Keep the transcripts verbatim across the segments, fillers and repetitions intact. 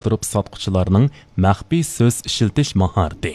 ئالماشتۇرۇپ ساتقۇچىلارنىڭ مەخپىي سۆز ئىشلىتىش ماھارىتى،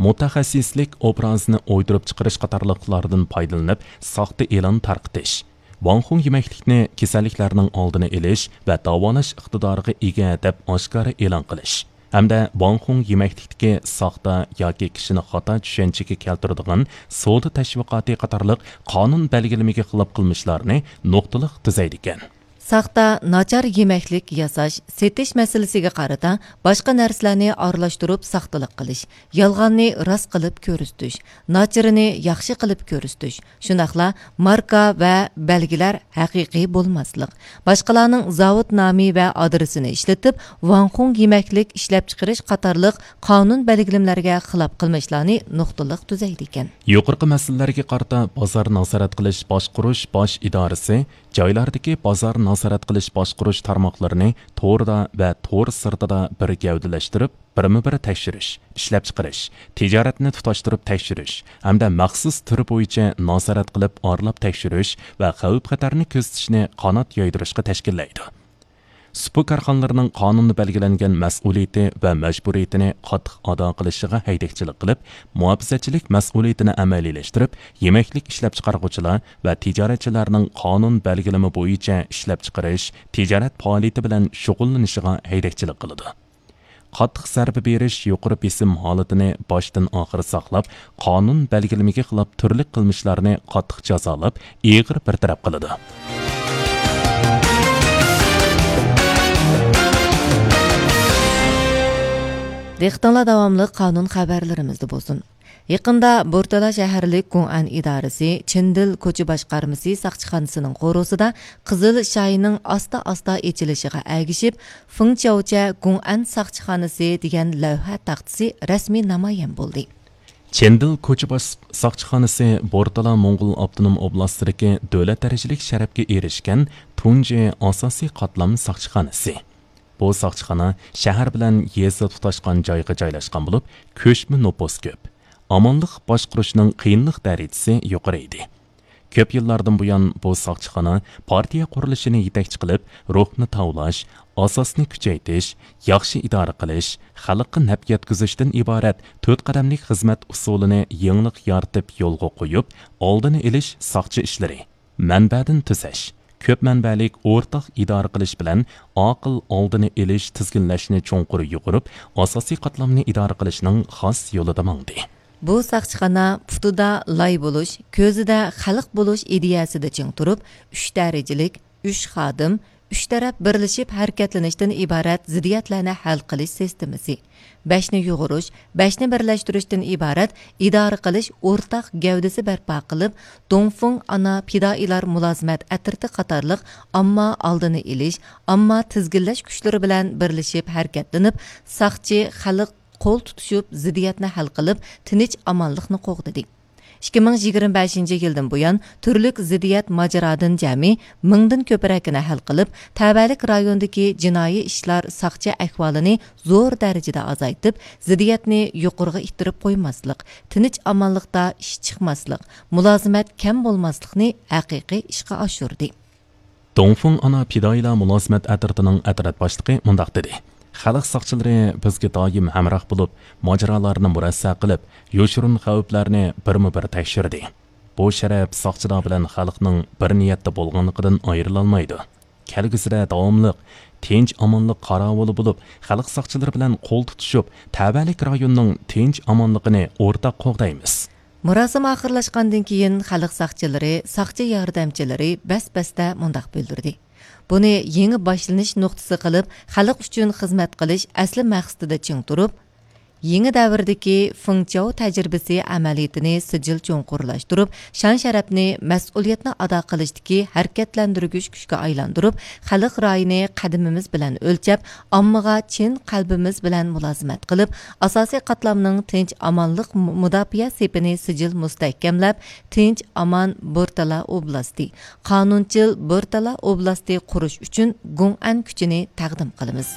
مۇتەخەسسىسلىك ئوبرازىنى ئويدۇرۇپ چىقىرىش قاتارلىقلاردىن پايدىلىنىپ ساختا ئېلان تارقىتىش. ۋاڭخۇڭ يېمەكلىكنى كېسەللىكلەرنىڭ ئالدىنى ئېلىش ۋە داۋالاش ئىقتىدارىغا ئىگە دەپ ئاشكارا ئېلان قىلىش ھەمدە ۋاڭخۇڭ يېمەكلىكتىكى ساختا ياكى كىشىنى خاتا چۈشەنچىگە كەلتۈرىدىغان سودا تەشۋىقاتى قاتارلىق قانۇن بەلگىلىمىگە خىلاپ قىلمىشلارنى نۇقتىلىق تۈزەيدىكەن. ساختا، ناچار يېمەكلىك ياساش، سېتىش مەسىلىسىگە قارىتا باشقا نەرسىلەرنى ئارىلاشتۇرۇپ ساختىلىق قىلىش، يالغاننى راست قىلىپ كۆرسىتىش، ناچىرىنى ياخشى قىلىپ كۆرسىتىش، شۇنداقلا ماركا ۋە بەلگىلەر ھەقىقىي بولماسلىق، باشقىلارنىڭ زاۋۇت نامى ۋە ئادرېسىنى ئىشلىتىپ، ۋاڭخۇڭ يېمەكلىك ئىشلەپچىقىرىش قاتارلىق قانۇن بەلگىلىمىلەرگە خىلاپ قىلمىشلارنى نۇقتىلىق تۈزەيدىكەن. يۇقىرىقى مەسىلىلەرگە قارىتا بازار نازارەت قىلىش باشقۇرۇش باش ئىدارىسى جايلاردىكى بازار نازارەت قىلىش باشقۇرۇش تارماقلىرىنى توردا ۋە تور سىرتىدا بىر گەۋدىلەشتۈرۈپ، بىرمۇبىر تەكشۈرۈش، ئىشلەپچىقىرىش، تىجارەتنى تۇتاشتۇرۇپ تەكشۈرۈش ھەمدە مەخسۇس تۈر بويىچە نازارەت قىلىپ ئارىلاپ تەكشۈرۈش ۋە خەۋپ-خەتەرنى كۆزىتىشنى قانات يايدۇرۇشقا تەشكىللەيدۇ. سۇپا كارخانىلىرىنىڭ قانۇندا بەلگىلەنگەن مەسئۇلىيىتى ۋە مەجبۇرىيىتىنى قاتتىق ئادا قىلىشىغا ھەيدەكچىلىك قىلىپ، مۇھاپىزەتچىلىك مەسئۇلىيىتىنى ئەمەلىيلەشتۈرۈپ، يېمەكلىك ئىشلەپچىقارغۇچىلار ۋە تىجارەتچىلەرنىڭ قانۇن بەلگىلىمە بويىچە ئىشلەپچىقىرىش، تىجارەت پائالىيىتى بىلەن شۇغۇللىنىشىغا ھەيدەكچىلىك قىلىدۇ. قاتتىق زەربە بېرىش يۇقىرى بېسىم ھالىتىنى باشتىن ئاخىر ساقلاپ، قانۇن بەلگىلىمىگە خىلاپ تۈرلۈك قىلمىشلارنى قاتتىق جازالاپ، ئېغىر بىر تەرەپ قىلىدۇ. دىققىتىڭلار داۋاملىق قانۇن خەۋەرلىرىمىزدە بولسۇن. يېقىندا بورتالا شەھەرلىك گۇڭئەن ئىدارىسى چىندىل كوچا باشقارمىسى ساقچىخانىسىنىڭ قورۇسىدا قىزىل شاينىڭ ئاستا-ئاستا ئېچىلىشىغا ئەگىشىپ، فېڭچياۋچە گۇڭئەن ساقچىخانىسى دېگەن لەۋھە تاختىسى رەسمىي نامايان بولدى. چېندىل كوچا باش ساقچىخانىسى بورتالا موڭغۇل ئاپتونوم ئوبلاستىدىكى دۆلەت دەرىجىلىك شەرەپكە ئېرىشكەن تۇنجى ئاساسىي قاتلام ساقچىخانىسى. بۇ ساقچىخانا شەھەر بىلەن يېزا تۇتاشقان جايغا جايلاشقان بولۇپ، كۆچمە نوپۇس كۆپ. ئامانلىق باشقۇرۇشنىڭ قىيىنلىق دەرىجىسى يۇقىرى ئىدى. كۆپ يىللاردىن بۇيان بۇ ساقچىخانا پارتىيە قۇرۇلۇشىنى يېتەكچى قىلىپ، روھنى تاۋلاش، ئاساسنى كۈچەيتىش، ياخشى ئىدارە قىلىش، خەلققە نەپ يەتكۈزۈشتىن ئىبارەت تۆت قەدەملىك خىزمەت ئۇسۇلىنى يېڭىلىق يارىتىپ يولغا قويۇپ، ئالدىنى ئېلىش ساقچى ئىشلىرى، مەنبەدىن تۈزەش، كۆپ مەنبەلىك ئورتاق ئىدارە قىلىش بىلەن ئاقىل ئالدىنى ئېلىش، تىزگىنلەشنى چوڭقۇر يۇغۇرۇپ، ئاساسىي قاتلامنى ئىدارە قىلىشنىڭ خاس يولىدا ماڭدى. بۇ ساقچىخانا پۇتىدا لاي بولۇش، كۆزىدە خەلق بولۇش ئىدىيەسىدە چىڭ تۇرۇپ، ئۈچ دەرىجىلىك، ئۈچ خادىم، ئۈچ تەرەپ بىرلىشىپ ھەرىكەتلىنىشتىن ئىبارەت زىددىيەتلەرنى ھەل قىلىش سىستېمىسى، بەشنى يۇغۇرۇش، بەشنى بىرلەشتۈرۈشتىن ئىبارەت ئىدارە قىلىش ئورتاق گەۋدىسى بەرپا قىلىپ، دۇڭفېڭ ئانا پىدائىيلار مۇلازىمەت ئەترىتى قاتارلىق ئامما ئالدىنى ئېلىش، ئامما تىزگىنلەش كۈچلىرى بىلەن بىرلىشىپ ھەرىكەتلىنىپ، ساقچى، خەلق قول تۇتۇشۇپ، زىددىيەتنى ھەل قىلىپ، تىنچ ئامانلىقنى قوغدىدى. ئىككى مىڭ يىگىرمە بەشىنچى يىلدىن بۇيان، تۈرلۈك زىددىيەت ماجىرادىن جەمئىي مىڭدىن كۆپرەكىنى ھەل قىلىپ، تەۋەلىك رايوندىكى جىنايى ئىشلار ساقچى ئەھۋالىنى زور دەرىجىدە ئازايتىپ، زىددىيەتنى يۇقىرىغا ئىتتىرىپ قويماسلىق، تىنچ ئامانلىقتا ئىش چىقماسلىق، مۇلازىمەت كەم بولماسلىقنى ھەقىقىي ئىشقا ئاشۇردى. دۇڭفېڭ ئانا پىدائىيلار مۇلازىمەت ئەترىتىنىڭ ئەترەت باشلىقى مۇنداق دېدى: خەلق ساقچىلىرى بىزگە دائىم ھەمراھ بولۇپ، ماجىرالارنى مۇرەسسە قىلىپ، يوشۇرۇن خەۋپلەرنى بىرمۇ بىر تەكشۈردى. بۇ شەرەپ ساقچىلار بىلەن خەلقنىڭ بىر نىيەتتە بولغانلىقىدىن ئايرىلالمايدۇ. كەلگۈسىدە داۋاملىق تىنچ ئامانلىق قاراۋۇلى بولۇپ، خەلق ساقچىلىرى بىلەن قول تۇتۇشۇپ، تەۋەلىك رايوننىڭ تىنچ ئامانلىقىنى ئورتاق قوغدايمىز. مۇراسىم ئاخىرلاشقاندىن كېيىن، خەلق ساقچىلىرى، ساقچى ياردەمچىلىرى بەس-بەستە مۇنداق بىلدۈردى: بۇنى يېڭى باشلىنىش نۇقتىسى قىلىپ، خەلق ئۈچۈن خىزمەت قىلىش ئەسلى مەقسىتىدە چىڭ تۇرۇپ، يېڭى دەۋردىكى فېڭچياۋ تەجرىبىسى ئەمەلىيىتىنى سىجىل چوڭقۇرلاشتۇرۇپ، شان-شەرەپنى، مەسئۇلىيەتنى ئادا قىلىشتىكى ھەرىكەتلەندۈرگۈچ كۈچكە ئايلاندۇرۇپ، خەلق رايىنى قەدىمىمىز بىلەن ئۆلچەپ، ئاممىغا چىن قەلبىمىز بىلەن مۇلازىمەت قىلىپ، ئاساسىي قاتلامنىڭ تىنچ-ئامانلىق مۇ-، مۇداپىئە سېپىنى سىجىل مۇستەھكەملەپ، تىنچ-ئامان بورتالا ئوبلاستى، قانۇنچىل بورتالا ئوبلاستى قۇرۇش ئۈچۈن گۇڭئەن كۈچىنى تەقدىم قىلىمىز.